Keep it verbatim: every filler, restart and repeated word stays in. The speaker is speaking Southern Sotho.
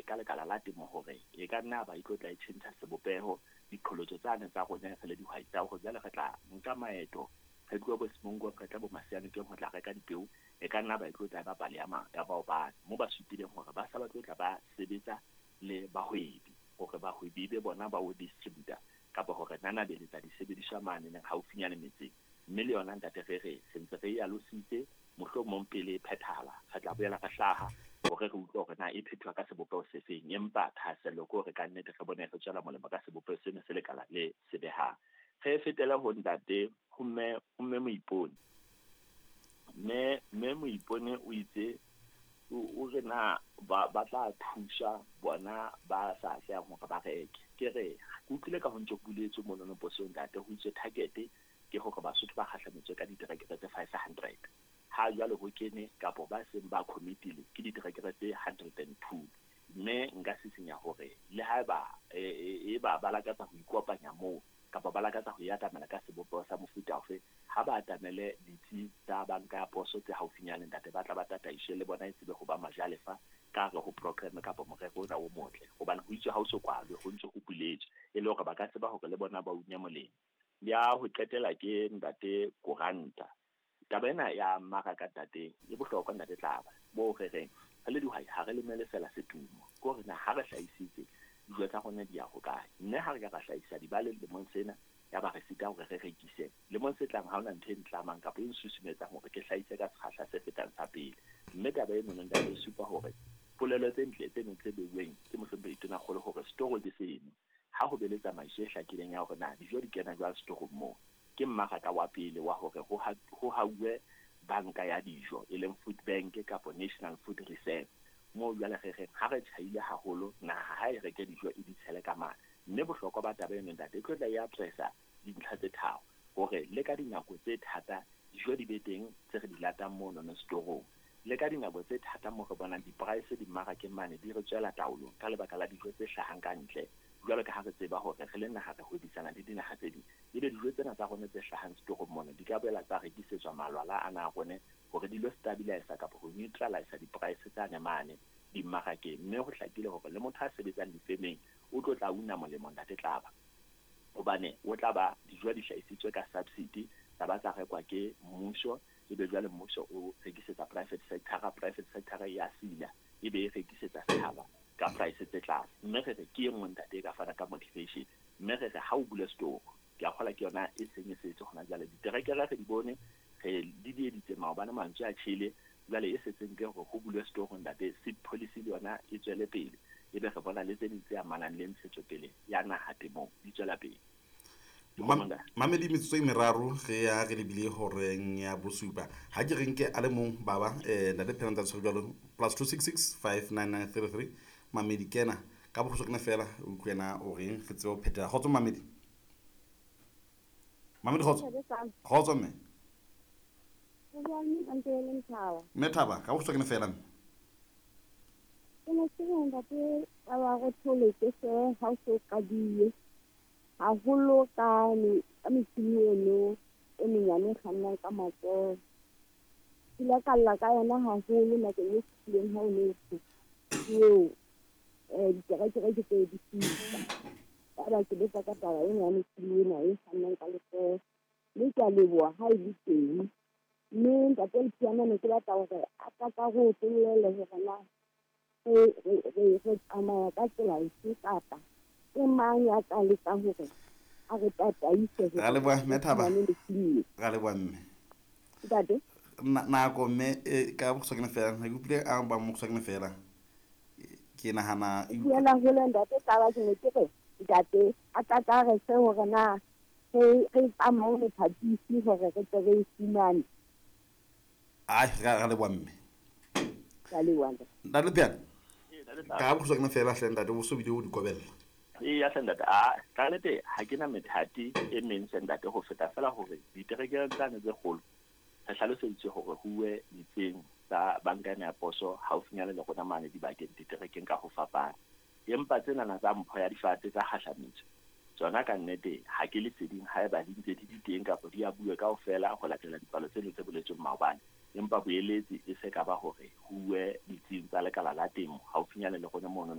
ka lekala la temo hore e ka nna ba e tlo tla e tjhentjha sebopeho diqholotso tsane tsa rona re le dihwai tsa hore jwale re tla nka maeto re tloha bo Semongo re tla bo Masianokeng ho tla reka dipeo e ka nna ba e tlo tla ba pale ya ma ya maobane mo ba supileng hore ba sa ba tlo tla ba sebetsa le bahwebi hore bahwebi be bona ba o distributor kapa hore nanabeletsa disebediswa mane neng haufinyane metseng. Mme le yona ntate re re se ntse re e alositse mohlomong pele e phethahala re tla boela re hlaha hore re utlwe hore na e phethuwa ka sebopeho se feng, empa thahasello ke hore ka nnete re bone re tswela molemo ka sebopeho sena se lekala le se behang. Re fetele ho ntate ho mme ho mme Moipone. Mme mme Moipone o itse o re na ba ba tla thusa bona ba sa atlehang hore ba reke. Ke re ke utlwile ka ho ntso buletswe monono posong ntate ho itswe target ke hore Basotho ba kgahlametswe ka diterekere tse five hundred. Ha jwale ho kene kapo ba seng ba committile ke diterekere tse hundred and two. Mme nka sisinya hore le haeba e ba ba lakatsa ho ikopanya moo kapa ba lakatsa ho ya atamela ka sebopeho sa mofuta ofe, ha ba atamele ditsi tsa banka ya poso tse haufinyane ntate ba tla ba tataishe le bona e tsebe ho ba majalefa ka hare ho program kapa morero ona o motle, hobane ho itswe ha o so kwalwe ho ntse ho buletswe e le hore ba ka tseba hore le bona ba unya molemo. Ya ho qetela ke ntate Koranta. Taba ena ya mmaraka ntate e bohlokwa ntate Tlaba bo re reng re le dihwai ha re lemele fela setumo, ke hore na ha re hlahisitse dijo tsa rona di ya hokae, mme ha re ka ra hlahisa dibale lemong sena ya ba re sita hore re rekise lemong se tlang ha hona ntho e ntlamang kapa e nsusumetsang hore ke hlahise ka sekgahla se fetang sa pele. Mme taba eno ntate e supa hore polelo tse ntle tse neng tse beuweng ke mohlomphehi Tonakgolo hore setoro ke seno, ha ho be le tsamaiso e hlakileng ya hore na dijo di kena jwang setorong moo, ke mmaraka wa pele wa hore ho hauwe banka ya dijo e leng food bank kapa National Food Reserve moo jwale re reng ha re tjhaile haholo naha ha e reke dijo e di tshele ka mane. Mme bohlokwa ba taba eno ntate e tlo tla e addressa dintlha tse tharo hore le ka dinako tse thata dijo di be teng tse re di latang mono no setorong, le ka dinako tse thata moo re bonang di-price dimmarakeng mane di re tswela taolong ka lebaka la dijo tse hlahang ka ntle jwalo ka ha re tseba hore re le naha re hwebisana le dinaha tse ding, ebe dijo tsena tsa rona tse hlahang setorong mona di ka boela tsa rekisetswa malwala ana a rone hore di lo stabilize kapa ho neutralize di-price tsane mane dimmarakeng. Mme ho hlakile hore le motho a sebetsang difemeng o tlo tla una molemo ntate Tlaba, hobane o tla ba dijo di hlahisitswe ka subsidy tsa ba tsa rekwa ke mmuso, ebe jwale mmuso o rekisetsa private sector, private sector ya sila ebe e rekisetsa setjhaba ka price tse tlase. Mme re re ke e nngwe ntate e ka fana ka motivation, mme re re ha o bule store ke a kgola ke yona e seng e setse hona jwale diterekere re di bone re di dieditse maobane mantswe a tjhele, jwale e setseng ke hore ho bulwe store ntate seed policy le yona e tswele pele, ebe re bona le tse ding tse amanang le ntshetsopele ya naha temong di tswela pele. Mamedi metsotso e meraro re ya re lebile horeng ya bosupa. Ha ke re nke a le mong baba eh ntate Phelantsa tshwere jwalo plus two six six five nine nine three three Mamedi kena ka bokgutshwane fela o utlwe o reng re tsebe ho phethela. Kgotso Mamedi. Mamedi kgotso. Kgotso mme. Mme Thaba ka bokgutshwane fela mme. Ke ne ke re ntate ba ba re thole ke se ha o so qadile haholo ka ka metjhini eno e menyane e kgannang ka matsoho. Ke ile ka lla ka yona haholo nakong e fetileng ha o ne o eo eh diterekere ke tse di fihla. Yaba ke botsa ka taba ena ya metjhini ena e kgannang ka letsoho, mme ke a leboha ha e le teng. Mme ntate Lepiyane ne ke batla hore a ka ka re otlollele hore na re re re tsamaya ka tsela efe kapa ke mang ya tla lekang hore a re tataise Ra leboha mme Thaba. Ra leboha mme. Ntate? Nako mme ka bokgutshwane fela ke utlwile a ba mokgutshwane fela ke nahana Buela hole ntate Tlaba ke ne ke re ntate a tla ka re se hore na re re tsamaye mothatisi hore re tle re e fumane. Ai ra leboha mme. Ka leboha. Ntate Lepiyane. Ka bokgutshwane fela hle ntate o so bile o di kobella. E ya ntate a ka nnete ha ke na methati e meng se ntate ho feta fela hore diterekere tsane tse kgolo re hlaloseditswe hore huwe ditseng tsa banka ya poso haufinyane le rona mane dibakeng diterekeng ka ho fapana, empa tsenana tsa mpho ya difate tsa kgahlametso tsona ka nnete ha ke leseding haeba di ntse di di teng kapa di a bue kaofela ho latela dipalo tseno tse boletsweng maobane, empa boeletsi e se ka ba hore huwe ditsing tsa lekala la temo haufinyane le rona mono.